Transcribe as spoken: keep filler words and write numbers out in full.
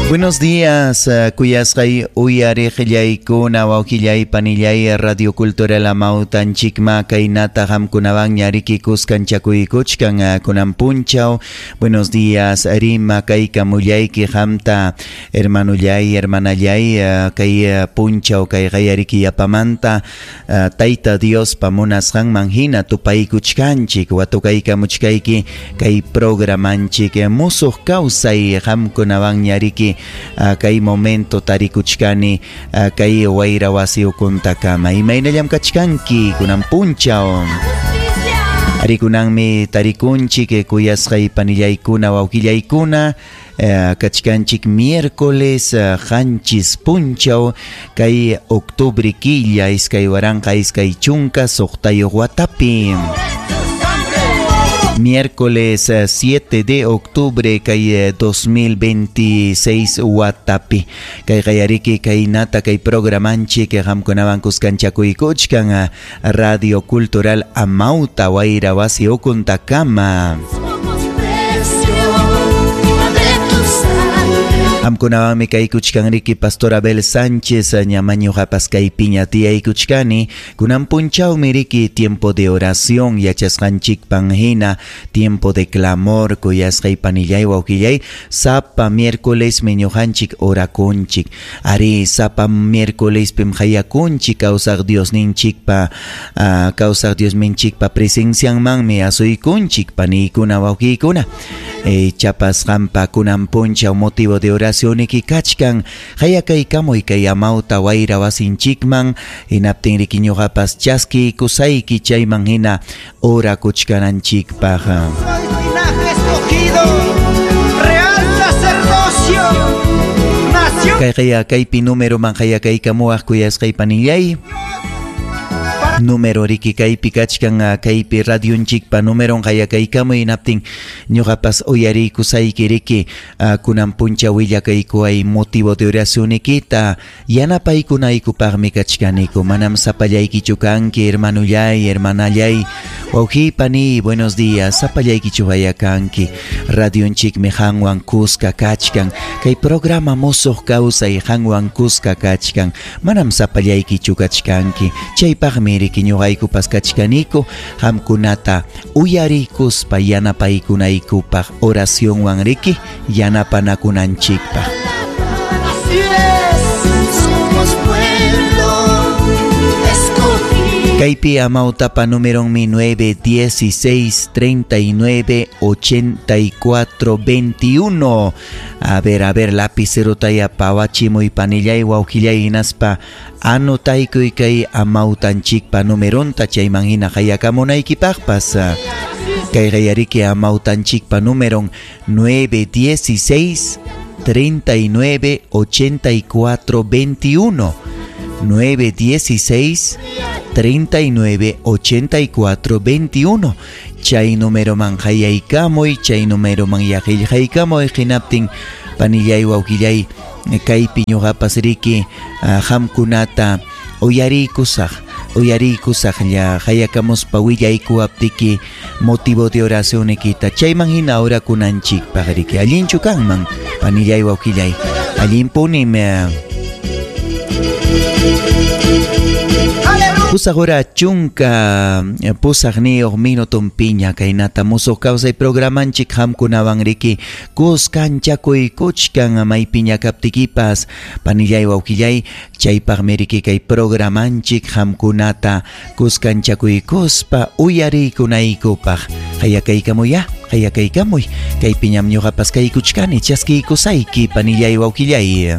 Buenos días, kuyasqay uyariqllaykuna, wawqillay, panillay, Radio Cultural Amawtanchikma kaynata qamkunawanña riki kuskanchakuykuchkan kunan punchaw. Buenos días, rima kaykamullayki qamta, hermanullay, hermanallay, kay punchaw kay qayariki yapamanta Tayta Diospa munasqanman hina tupaykuchkanchik, watukaykamuchkayki kay programanchik musuq kawsay qamkunawanña riki kay momento tarikuchkani kay wayra wasi ukuntakama. Imaynallam kachkanki kunan punchaw. Arikunanmi tarikunchik kuyasqay panillaykuna wawqillaykuna, kachkanchik miércoles qanchis punchaw kay octubre killa iskay waranqa iskay chunka suqtayuq watapi. Miércoles siete de octubre kay dos mil veintiséis watapi. Kay qayariki kay nata kay programanchik qamkunawan kuskanchakuykuchkan Radio Cultural Amauta wayra wasi ukuntakama. Qamkunawanmi kaykuchkan riki Pastor Abel Sánchez ñamañuqapas kaypiña tiyaykuchkani. Kunan punchawmi riki tiempo de oración yachasqanchikpan hina, tiempo de clamor kuyasqay panillay wawqillay, sapa miércoles mi ñuqanchik orakunchik. Ari sapa miércoles pim hayakunchik kawsaq Diosninchikpa, uh, kawsaq Diosninchikpa presencianmanmi asuykunchik paniykuna wawqiykuna. E, chapas qampa kunan punchaw motivo de oración niki kachkan hayakaykamuy kay amawta wayra wasinchikman hinaptin riki ñuqapas chaskiykusayki chayman hina orakuchkananchikpaq. Soy linaje escogido, real sacerdocio, nación. Kay kaya kaypi número man hayakaykamuwaq kuyasqay panillay. Número riki kaypi kachkan kaypi radionchikpa numeron hayakaykamuy hinaptin ñuqapas uyariykusayki riki kunan puncha willakaykuway motivo de oracionikita yanapaykunaykupaqmi kachkaniku. Manam sapallaykichu kanki hermanullay, hermanallay, wawqiy, paniy, buenos días, sapallaykichu hayakanki. Radionchikmi qanwan kuska kachkan, kay programa musuq kawsay qanwan kuska kachkan, manam sapallaykichu kachkanki. Chaypaqmi riki ñuqaykupas kachkaniku qamkunata uyariykuspa yanapaykunaykupaq oracionwan riki yanapanakunanchikpaq. Así es, somos pueblo escogido. Kaypi amawtapa numeronmi nueve dieciséis treinta y nueve ochenta y cuatro veintiuno. A ver, a ver, lapicerotaya pawachimuy panillay wawqillay hinaspa anotaykuy kay amawtanchikpa numeronta chayman hina hayakamunaykipaqpas. Kay qayariki amawtanchikpa numeron nueve dieciséis treinta y nueve ochenta y cuatro veintiuno. nueve dieciséis treinta y nueve ochenta y cuatro veintiuno. Chay número man hayaykamuy, chay número man yaqillqaykamuy hinaptin panillay wawqillay kaypi ñuqapas riki qamkunata uyariykusaq, uyariykusaq lla hayakamuspa willaykuwaptiki motivo de oracionikita chayman hina orakunanchikpaq riki. Allinchu kanman panillay wawqillay, allinpunim. Pusaq hora chunka pusaqniyuq minuton piña kaynata musuq kawsay programanchik qamkunawan riki kuskanchakuykuchkan maypiña kaptikipas panillay wawqillay chaypaqmi riki kay programanchik qamkunata kuskanchakuykuspa uyariykunaykupaq. Hayakaykamuya, hayakaykamuy kaypiñam ñuqapas kaykuchkani chaskiykusayki panillay wawqillay.